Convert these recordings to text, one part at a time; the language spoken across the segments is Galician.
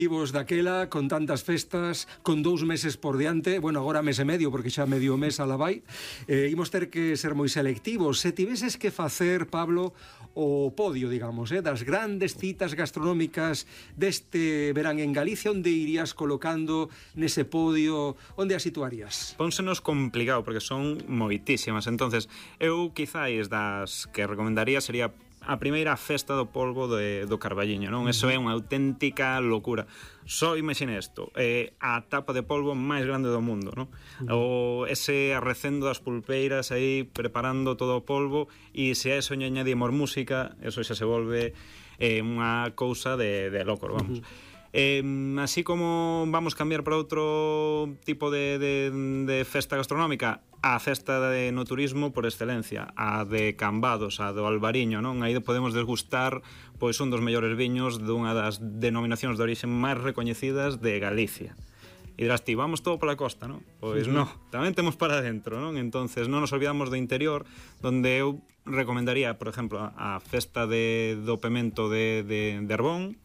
Vivos daquela, con tantas festas, con 2 meses por diante, bueno, agora mes e medio, porque xa medio mes a la vai, imos ter que ser moi selectivos. Se tiveses que facer, Pablo, o podio, digamos, das grandes citas gastronómicas deste verán en Galicia, onde irías colocando nese podio, onde as situarías? Pónsenos complicado, porque son moitísimas. Entonces, eu quizáis das que recomendaría sería a primeira festa do polvo do Carballiño, non? Eso é unha auténtica locura. Só imagine isto, a tapa de polvo máis grande do mundo, non? O ese arrecendo das pulpeiras aí preparando todo o polvo, e se a eso añadimos música, eso xa se volve unha cousa de loco, vamos. Así como vamos cambiar para outro tipo de festa gastronómica, a festa no turismo por excelencia, a de Cambados, a do Albariño, non? Aí podemos desgustar pois un dos mellores viños dunha das denominacións de orixe máis recoñecidas de Galicia. E dirás ti, vamos todo pola costa, non? Pois non, tamén temos para dentro, non? Entonces non nos olvidamos do interior, donde eu recomendaría, por exemplo, a festa do pemento de Arbón,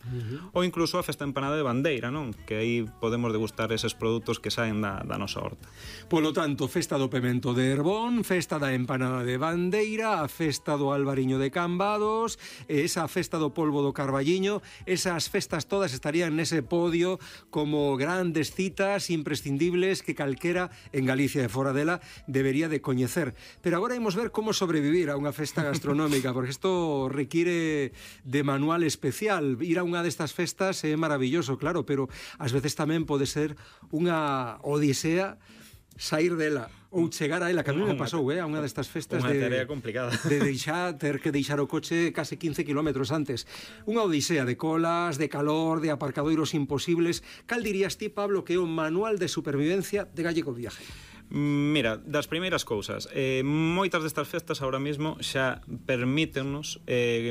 ou incluso a festa empanada de Bandeira, non? Que aí podemos degustar eses produtos que saen da nosa horta. Polo tanto, festa do pemento de Arbón, festa da empanada de Bandeira, a festa do Albariño de Cambados, esa festa do polvo do Carballiño, esas festas todas estarían nese podio como grandes citas imprescindibles que calquera en Galicia e fora dela debería de coñecer. Pero agora imos ver como sobrevivir a unha festa gastronómica, porque isto require de manual especial. Ir a unha destas festas é maravilloso, claro, pero ás veces tamén pode ser unha odisea sair dela ou chegar a ela, que a mí me pasou a unha destas festas unha tarea complicada de ter que deixar o coche case 15 kilómetros antes. Unha odisea de colas, de calor, de aparcadoiros imposibles. Cal dirías ti, Pablo, que é o manual de supervivencia de Gallego Viaje? Mira, das primeiras cousas, moitas destas festas ahora mismo xa permítennos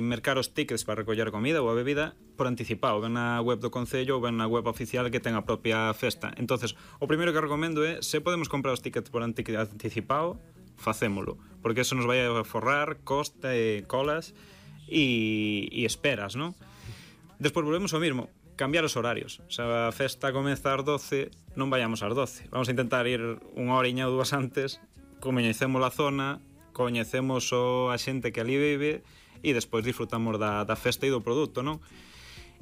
mercar os tickets para recoller a comida ou a bebida por anticipado, ben na web do Concello ou ben na web oficial que ten a propia festa. Entonces, o primeiro que recomendo é, se podemos comprar os tickets por anticipado, facémolo, porque eso nos vai a forrar costa e colas e esperas, non? Despois volvemos ao mismo, cambiar os horarios. Se a festa comeza ás 12, non vayamos ás 12. Vamos a intentar ir unha horiña ou dúas antes, coñecemos a zona, coñecemos a xente que ali vive e despois disfrutamos da festa e do produto, non?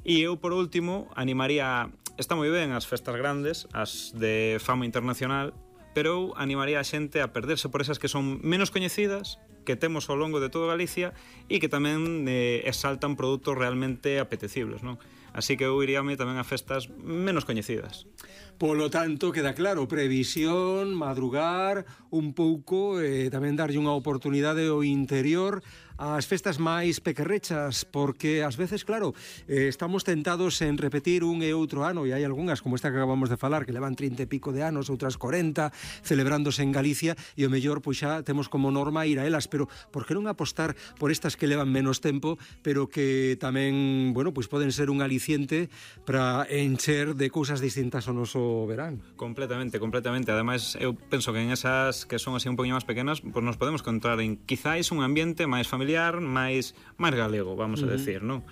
E eu, por último, animaría... Está moi ben as festas grandes, as de fama internacional, pero eu animaría a xente a perderse por esas que son menos coñecidas, que temos ao longo de toda Galicia e que tamén exaltan produtos realmente apetecibles, non? Así que eu iríame tamén a festas menos coñecidas. Polo tanto, queda claro, previsión, madrugar un pouco, tamén darlle unha oportunidade ao interior ás festas máis pequerrechas, porque ás veces, claro, estamos tentados en repetir un e outro ano, e hai algunhas, como esta que acabamos de falar, que levan 30 e pico de anos, outras 40, celebrándose en Galicia, e o mellor, pois xa temos como norma ir a elas, pero por que non apostar por estas que levan menos tempo, pero que tamén, bueno, pois poden ser un aliciente para encher de cousas distintas ao noso verán? Completamente. Ademais, eu penso que en esas que son así un poquinho máis pequenas, pois nos podemos encontrar en quizáis un ambiente máis familiar, máis galego, vamos a decir, non?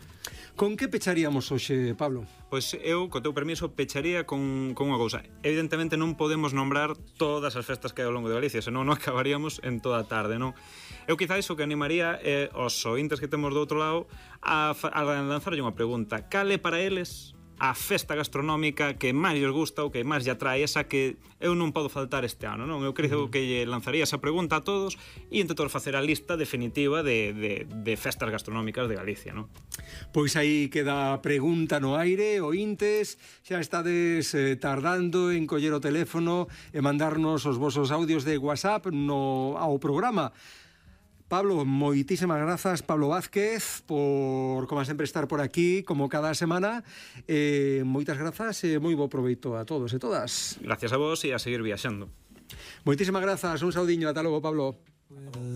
Con que pecharíamos hoxe, Pablo? Pois eu, co teu permiso, pecharía con unha cousa. Evidentemente non podemos nombrar todas as festas que hai ao longo de Galicia, senón non acabaríamos en toda a tarde, non? Eu quizáis o que animaría os ointes que temos do outro lado a lanzarlle unha pregunta. Cal é para eles a festa gastronómica que máis lles gusta ou que máis lle atrae, esa que eu non podo faltar este ano, non? Eu creo que lle lanzaría esa pregunta a todos e intentar facer a lista definitiva de festas gastronómicas de Galicia, non? Pois aí queda a pregunta no aire, ointes, xa estades tardando en coller o teléfono e mandarnos os vosos audios de WhatsApp ao programa. Pablo, moitísimas grazas, Pablo Vázquez, por, como sempre, estar por aquí, como cada semana. Moitas grazas e moi bo proveito a todos e todas. Gracias a vos e a seguir viaxando. Moitísimas grazas, un saudiño, ata logo, Pablo.